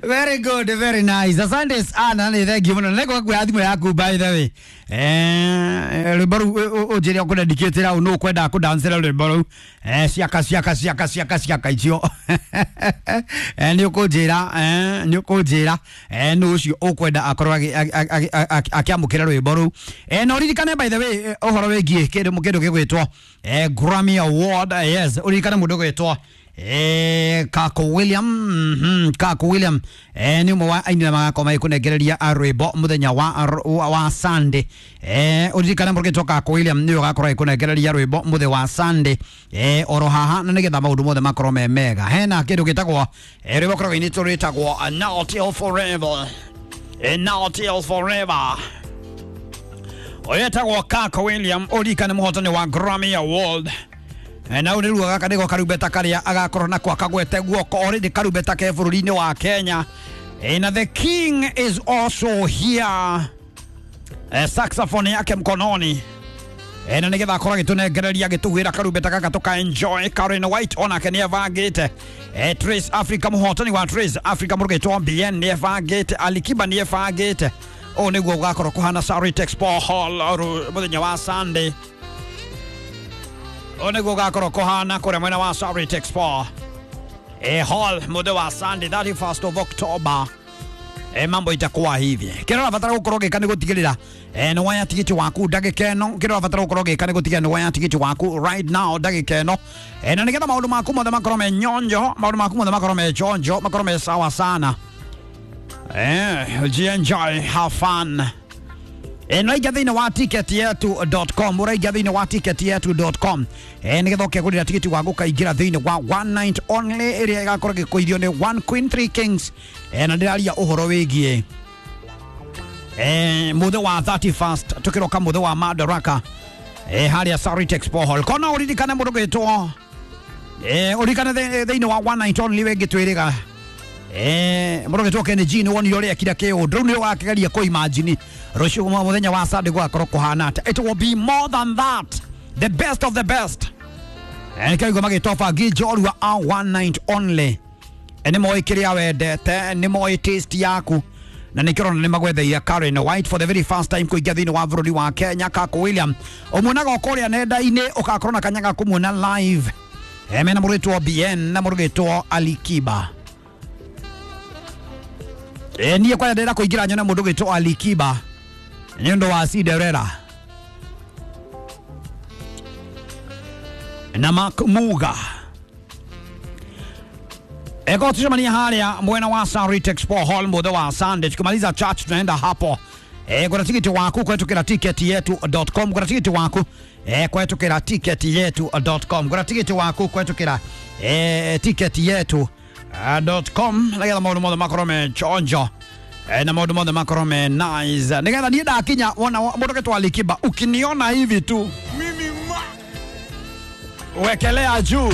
Very good, very nice. Asante sana, ni thank you muno. Nĩngũka kuoya thimũ yaku by the way. Rwĩmbo rũu ũnjĩre ũkũdedicate rau nũ ũkwenda kũdancĩra rwĩmbo rũu. Ciaka ciaka ciaka ciaka ciaka icio. Nĩ ũkũnjĩra, nĩ ũkũnjĩra nũ ũcio ũkwenda akorwo akĩamũkĩra rwĩmbo rũu. Na ũririkane by the way ũhoro wĩgiĩ kĩndũ gĩgwĩtwo Grammy Award. Yes, ũririkane mũndũ ũgwĩtwo Kako William, Kako William nĩ ũmwe wa aini arĩa magakorwo magĩkũnengereria rwĩmbo mũthenya wa Sunday. Ũririkane mũndũ ũgwĩtwo Kako William nĩwe ũgakorwo agĩkũnengereria rwĩmbo mũthenya wa Sunday oro haha, na nĩgetha maũndũ mothe makorwo me mega. Hena kĩndũ gĩtagwo rwĩmbo koragwo inĩtwo rwĩtagwo Now Till Forever. Now Till Forever. Ũyũ etagwo Kako William, ũririkane mũhotani wa Grammy Award. Na ũyũ nĩruo gaka nĩko karumbeta karĩa agakorwo nako akagwete guoko already karumbeta ke bũrũri-inĩ wa Kenya. Na the king is also here. Saxophone yake mkononi. Na nĩgetha akorwo agĩtũnengereria agĩtũhuhĩra karumbeta gaka tũka enjoy. Karen White onake nĩ ebangĩte. Trace Africa, mũhotani wa Trace Africa mũrũgĩtwo BN nĩ ebangĩte. Alikiba nĩ ebangĩte. Ũũ nĩguo gũgakorwo kũhana Sarit Expo Hall mũthenya wa Sunday. Ũũ nĩguo gũgakorwo kũhana kũrĩa mwena wa Sarit Expo Hall mũthenya wa Sunday 31st of October. Mambo itakuwa hivi. Kĩrĩa ũrabatara gũkorwo ũgĩka nĩ gũtigĩrĩra nĩ woya tigiti waku ndagĩka ĩno. Kĩrĩa ũrabatara gũkorwo ũgĩka nĩ gũtigĩrĩra nĩ woya tigiti waku right now ndagĩka ĩno. Na nĩgetha maũndũ maku mothe makorwo me nyonjo, maũndũ maku mothe makorwo me chonjo, makorwo me sawa sana. Enjoy, have fun. Ũraingia thĩinĩ wa ticketyetu.com, ũraingia thĩinĩ wa ticketyetu.com nĩgetha ũkegũrĩra tigiti wa gũkaingĩra thĩinĩ wa one night only ĩrĩa ĩgakorwo ĩgĩkũithio nĩ One Queen Three Kings. Na ndĩraria ũhoro wĩgiĩ mũthĩ wa 31st tũkĩroka mũthĩ wa Madaraka harĩa Sarit Expo Hall. Kona ũririkane mũndũ gwĩtwo ũririkane thĩinĩ wa one night only wĩngĩ twĩrĩga mũndũ gwĩtwo Kenny G nĩ wonire ũrĩa ekire kĩũndũ rĩu nĩ ũgakĩgeria kũ imagine rũciũ mũthenya wa Sunday gũgakorwo kũhana atĩa. It will be more than that, the best of the best. Nĩkĩo igua magĩtwo bangi njorua a one night only. Nĩ moĩ kĩrĩa wendete, nĩ moĩ taste yaku, na nĩkĩo ũrona nĩ magwetheire Karen White for the very first time kũingĩra thĩinĩ wa bũrũri wa Kenya. Kako William ũmuonaga o kũrĩa nenda-inĩ, ũgakorwo na kanya ga kũmuona live. Mena mũrũgĩtwo BN na mũrũgĩtwo Alikiba. Niĩ kwanja ndĩrenda kũingĩra nyone mũndũ ũgwĩtwo Alikiba nĩ ũndũ wa Cinderella na Mark Muga. Eko tucemania harĩa mwena wa Sarit Expo Hall mũthĩ wa Sunday. Tukimaliza church tunaenda hapo. Gũra tigiti waku kũhetũkĩra ticketyetu.com. Gũra tigiti waku kũhetũkĩra ticketyetu.com. Gũra tigiti waku kũhetũkĩra ticketyetu.com nĩgetha maũndũ mothe makorwo me chonjo na maũndũ mothe makorwo me nice, nĩgetha niĩ ndakinya wona mũndũ ũgĩtwo Alikiba ukiniona hivi tu Mimi ma wekelea juu.